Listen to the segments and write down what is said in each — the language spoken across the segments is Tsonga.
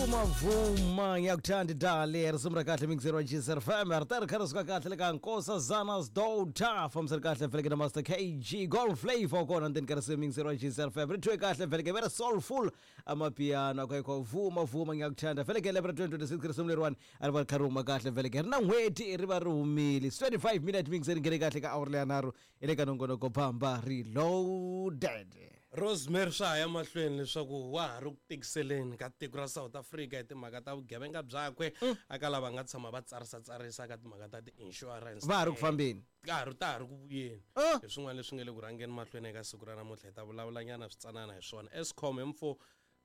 Vuma vuma ngiyakuthanda dali risimu ra kahle mixer wa GSR FM ri ta ri kha ri suka kahle le ka Nkosazana's Daughter fambisa ri kahle vheleke na Master KG Gold Flavor kona ndzeni ka risimu mixer wa GSR FM ri thwe kahle vheleke very soulful amapiano akho ikho vuma vuma ngiyakuthanda vheleke lembe ra 2026 risimu leriwani a ri va ri kha ri huma kahle vheleke ri na n'hweti ri va ri humile 25 minute mixer nghene kahle ka awara leya nharhu hi le ka nongonoko Bamba Reloaded. Rosemary swa ha ya mahlweni leswaku wa ha ri ku tikiseleni ka tiko ra South Africa hi timhaka ta vugevenga byakwe aka lava nga tshama va tsarisa tsarisa ka timhaka ta ti-insurance. Va ha ri ku fambeni. Ka ha ri ta ha ri ku vuyeni. Oh. Hi swin'wana leswi nga le ku rhangeni mahlweni eka siku ra namuntlha hi ta vulavulanyana switsanana hi swona. Eskom hi mfo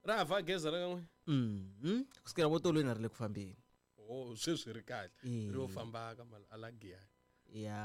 ra ha fa gezi ra ka n'wina? Mhm. Kusukela vo tolweni a ri le ku fambeni. Oh, sweswi ri kahle. Eh. Ri yo famba ka Malagiyani. Ya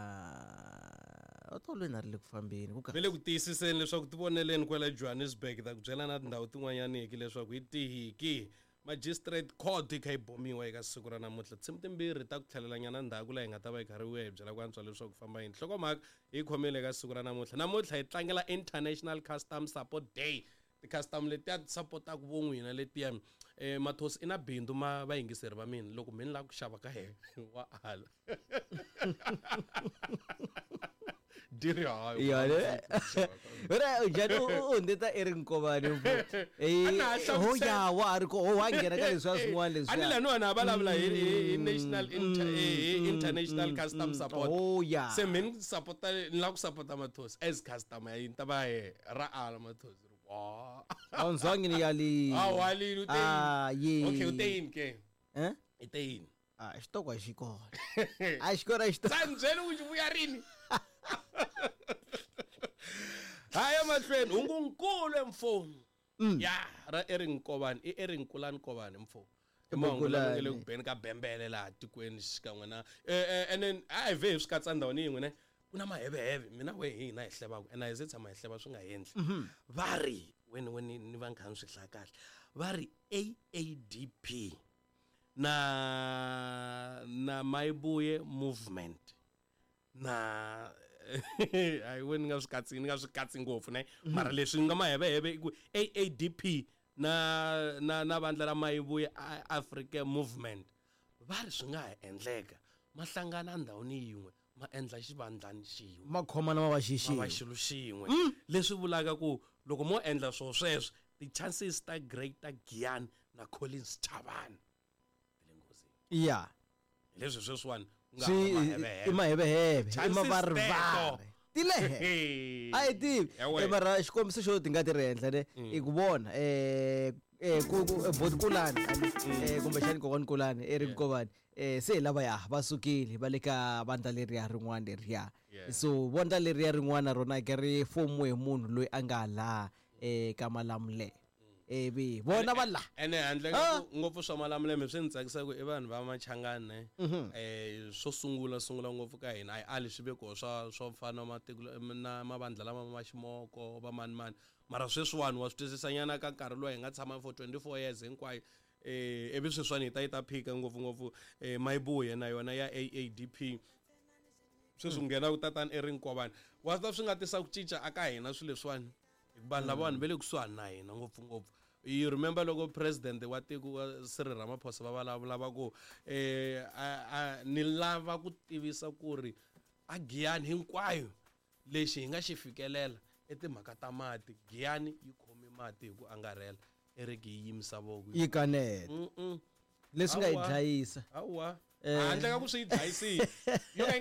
otolweni a ri le ku fambeni ku Ve le ku tiyisiseni leswaku ti voneleni kwala Johannesburg ta ku byela na tindhawu tin'wanyaniki leswaku hi tihi ki magistrate court yi kha yi bomiwa eka siku ra namuntlha tinsimu timbirhi ta ku tlhelelanyana ndzhaku laha hi nga ta va hi karhi vuya hi byela ku antswa leswaku famba yini nhlokomhaka hi khomile eka siku ra namuntlha namuntlha hi tlangela International Custom Support Day ti-customer letiya ti sapotaka vo n'wina letiya Mathosi i na bindzu ma vayingiseri va mina loko mi ni lava ku xava ka yena wa ala diri hayi Ya, ne? Wena njhani u hundzeta Eric Nkovani ho ya wa ha ri ko ho wa nghena ka leswiya swin'wana a ni leswiya laniwani a vulavula hi national hi international custom support Oh, ya. se mi ni sapota ni lava ku sapota Mathosi as customer ya yini ta va ye ra ala Mathosi wa Awunzange ni yalile. a walile u te yini? Ah, ye. Okay u te yini ke Eh? i te yini Ah, xitoko a xi kona. A xi kona xitoko. sa ni byeli ku xi vuya rini haya mahlweni hungunkulu emfoni ya ra Eric Nkovani i Eric Nkulani Nkovani mfo i mahungu lama nga le ku beni ka bembele laha tikweni xikan'we na and then a hi vhe hi swi katsa ndhawini yin'we ne ku na maheveheve mina we hi hina hi hlevaka and a hi se tshama hi hleva swi nga endli va ri weni weni ni va ni kha ni swi hlaya kahle va ri AADP na na Mayibuye movement na hayi we ni nga swi katsi ni nga swi katsi ngopfu ne mara leswi nga maheveheve i ku AADP na na na vandla ra Mayibuye Africa movement va ri swi nga ha endleka ma hlangana ndhawini yin'we ma endla xivandlani xin'we Ma khomana ma va ma va xixin'we. xilo xin'we leswi vulaka ku loko mo endla swo sweswo ti-chances ta Greater Giyani na Collins Chavani ti le nghozini Ya. hi leswi sweswiwani ku nga Swi hava maheveheve. i maheveheve, i Chances mavarivari. teto. Ti le henhla. Hey. A hi tivi. Ya wena. Mara xikombiso xo ti nga ti ri henhla ne i ku vona ku boti Kulani kumbexani kokwani Kulani Eric Nkovani se hi lavaya va sukile va le ka vandla leriya rin'wana leriya. So vandla leriya rin'wana rona ke ri fomiwe hi munhu loyi a nga laha ka Malamulele. Ivi vona va laha. Ene handle Ah. ka ku ngopfu swa Malamulele swi ni tsakisa ku i vanhu va Machangani ne swo sungula sungula ngopfu ka hina a hi ali swi ve koho swa swo fana na matiko na mavandla lama ma ximoko va mani mani mara sweswiwani wa swi twisisanyana ka nkarhi lowu hi nga tshama for 24 years hinkwayo ivi sweswiwani hi ta yi ta phika ngopfungopfu Mayibuye na yona ya AADP sweswi nghena ku tatana Eric Nkovani wa swi ta swi nga tisa ku cinca aka hina swilo leswiwani hikuva vanhu lavawani va le kusuhani na hina ngopfungopfu you remember loko president wa tiko wa Cyril Ramaphosa va vulavula va ku ni lava ku tivisa ku ri a Giyani hinkwayo lexi hi nga xi fikelela i timhaka ta mati Giyani yi khome mati hi ku angarhela Eric yi yimisa voko Yi kaneta. Leswi nga yi Hawa. dlayisa. Hawa. Handle ka ku swi yi dlayisile yo ka yi nga